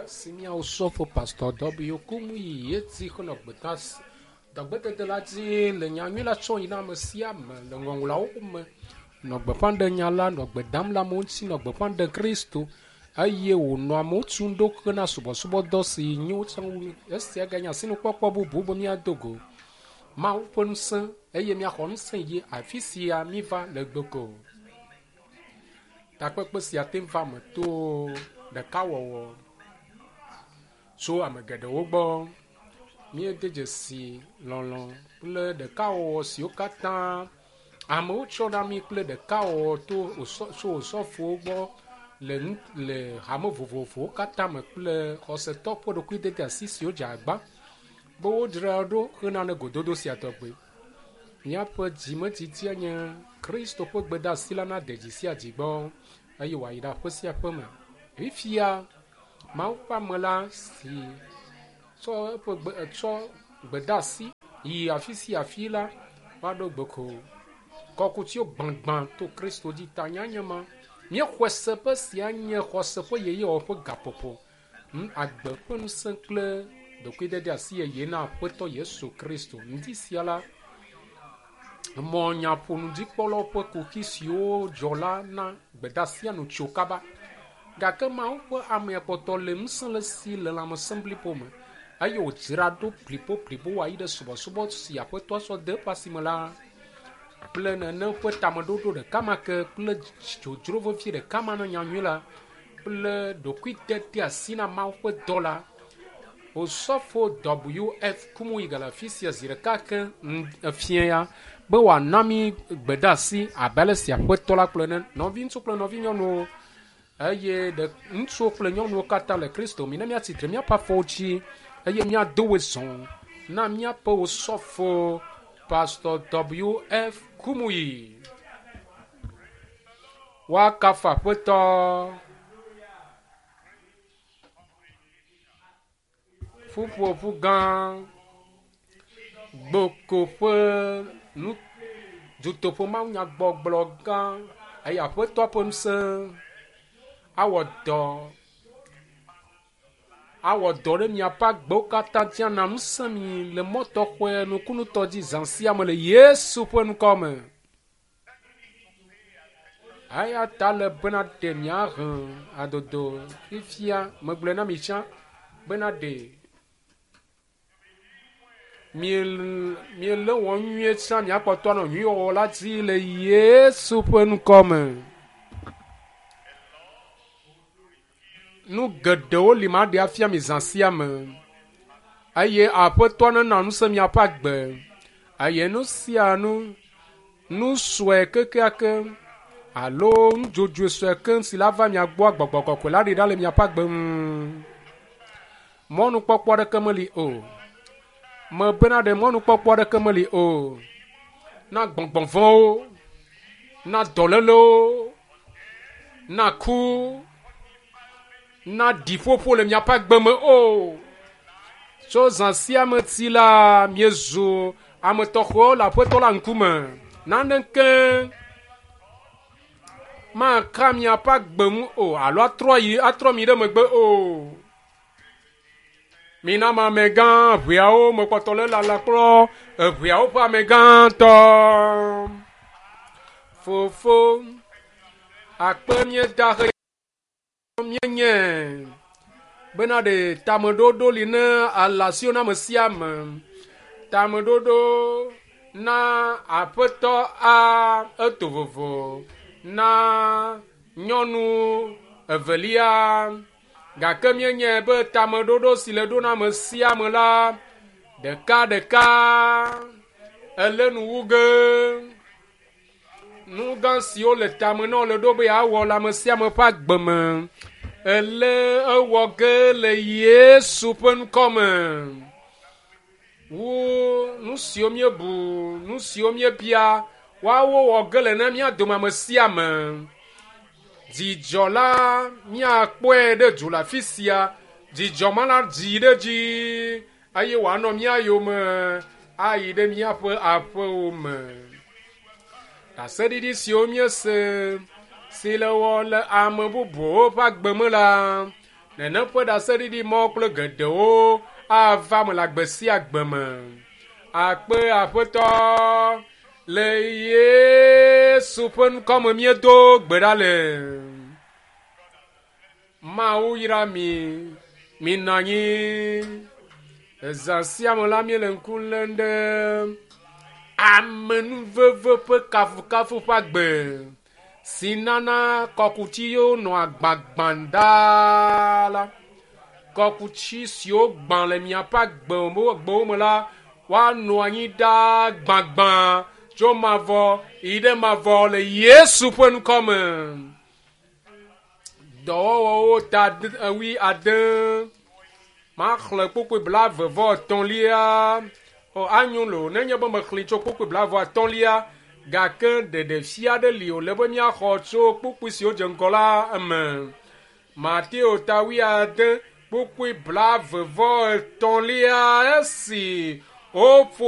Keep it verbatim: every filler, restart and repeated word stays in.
Esi míawo sɔfo Pastor W. Kumuyi yeti xenɔ gbedasi dɔgbedede la dzi le nyanyui la tsɔm yi na ame sia ame le ŋɔŋlɔawo me nɔ gbeƒã ɖem nya la nɔ gbe dam le amewo ŋuti nɔ gbeƒã ɖem Kristo eye wònɔ amewo tum ɖo hena subɔsubɔdɔ si nyo tsã wu. Esia ganye asinukpɔkpɔ bubu be míado go Mawu ƒe ŋusẽ eye míaxɔ ŋusẽ yi afi sia míva le gbeko. Takpekpe sia te va me to ɖekawɔwɔ tso ame geɖewo gbɔ. Míede dzesi lɔlɔ̃ kple ɖekawɔwɔ siwo katã amewo tsɔ na mí kple ɖekawɔwɔ to tso osɔfowo gbɔ le nu le hame vovovowo katã me kple xɔsetɔ ƒe ɖokuidede asi siwo dze agba be wodzra ɖo hena ne gododo sia tɔgbe. Míaƒe dzimedidia nye Kristo ƒe gbedeasi la nade dzi sia dzi gbɔ eye wòayi ɖe aƒe sia aƒe me. Fifia Mawu ƒe ame la si tsɔ eƒe gbe tsɔ gbedeasi yi afi sia afi la va ɖo gbeko. Kɔkutiwo gbãgbã to Kristo dzi ta nyanya ma. Míexɔe se be sia nye xɔse ƒe yeyewɔwɔ ƒe gaƒoƒo. Agbe ƒe ŋusẽ kple ɖokuidede asi yeye na Aƒetɔ Yesu Kristo. Ŋdi sia la, mɔ nyaƒonudzikpɔlawo ƒe kuxi siwo dzɔ la na gbedeasia nu tso kaba. Gake Mawu ƒe amea kpɔtɔ le ŋusẽ le si le lãmesẽ blibo me eye wòdzra ɖo blibo wòayi ɖe subɔsubɔ si Aƒetɔa sɔ de eƒe asime la kple nene ƒe tameɖoɖo ɖeka ma ke kple dzodzro vevie ɖeka ma na nyanyui la kple ɖokuidede asi na Mawu ƒe dɔ la. Osɔfo W F Kumuyi gale afi sia zi ɖeka ke efia ya be wòana mí gbedeasi abe ale si Aƒetɔ la kplɔe ene. Nɔviŋutsu kple nɔvinyɔnuwo eye ɖe ŋutsuwo kple nyɔnuwo katã le Kristo mi ne míatsi tre míaƒe afɔwo dzi eye míado wozɔ na míaƒe osɔfo Pastor W F Kumuyi. Woakafu Aƒetɔ. Ƒuƒoƒu gã gboko ƒe nu dutoƒo mawunyagbɔgblɔ gã eye Aƒetɔ ƒe ŋusẽ awɔ dɔ awɔ dɔ ɖe miaƒe agbewo katã dzi ana ŋusẽ mi le mɔ tɔxɔe nukunutɔ dzi zã sia me le Yesu ƒe ŋkɔ me. Eya ta le bena ɖe miahe adodo fifia megblɔe na mi tsã bena ɖe miele wɔ nyuie tsã miakpɔtɔ anɔ nyuiwɔwɔ la dzi le Yesu ƒe ŋkɔ me. Nu geɖewo li maɖe afia mi zã sia me eye Aƒetɔ nena ŋusẽ miaƒe agbe eye nu sia nu nu sue kekeake alo nudzodzoe sue ke si la va mia gbɔa gbɔgbɔ kɔkɔe la ɖi ɖa le miaƒe agbe ŋu. Mɔnukpɔkpɔ aɖeke meli o. Mebena ɖe mɔnukpɔkpɔ aɖeke meli o. Na gbɔgbɔ vɔ̃wo, na dɔlélewo, na ku, na ɖiƒoƒo le miaƒe agbe me o. Tso zã sia me ti la, miezu ame tɔxɛwo le Aƒetɔ la ŋkume. Naneke maka miaƒe agbe ŋu o alo atrɔ yi atrɔ mi ɖe megbe o. Mina ame amegã ʋeawo mekpɔtɔ le lala kplɔ eʋeawo ƒe amegãtɔ. Fofo, akpe míeda he míenye bena ɖe tameɖoɖo li ne alasiwo na ame sia ame. Tameɖoɖo na Aƒetɔ A eto vovo na nyɔnu evelia gake míenye be tameɖoɖo si le ɖo na ame sia ame la ɖeka ɖeka ele nu wu ge. Nu gã siwo le tame na wo le ɖo be yeawɔ le ame sia ame ƒe agbe me ele ewɔ ge le Yesu ƒe ŋkɔ me. Wu nu siwo míebu, nu siwo míebia, woawo wɔ ge le na mía dome ame sia ame. Dzidzɔ la míakpɔe ɖe du le afi sia. Dzidzɔ ma la dzi ɖe dzi eye wòanɔ mía yome ayi ɖe míaƒe aƒewo me. Ɖaseɖiɖi siwo míese si le wɔ le ame bubuwo ƒe agbe me la, Nene ƒe ɖaseɖiɖi mɔ kple geɖewo ava me le agbe sia agbe me. Akpe aƒetɔ le Yesu ƒe ŋkɔ me míedo gbe ɖa le. Mawu yra mi, minɔ anyi. Ezã sia me la míele ŋku lém ɖe amenuveve ƒe kafukafu ƒe agbe si nana kɔkutiwo nɔa gbagbã ɖaa la. Kɔkuti siwo gbã le miaƒe agbewo me la, woanɔ anyi ɖaa gbagbã tso mavɔ yi ɖe mavɔ le Yesu ƒe ŋkɔ me. Dɔwɔwɔwo ta wui ade maxlẽ kpukpui blaeve vɔ etɔ̃lia. O anyo lo nenye be mexlẽ tso kpukpui blaeve atɔ̃lia gake ɖeɖefia aɖe li wòle be míaxɔ tso kpukpui siwo dze ŋgɔ la eme. Mateo ta wui ade kpukpui blaeve vɔ etɔ̃lia esi woƒo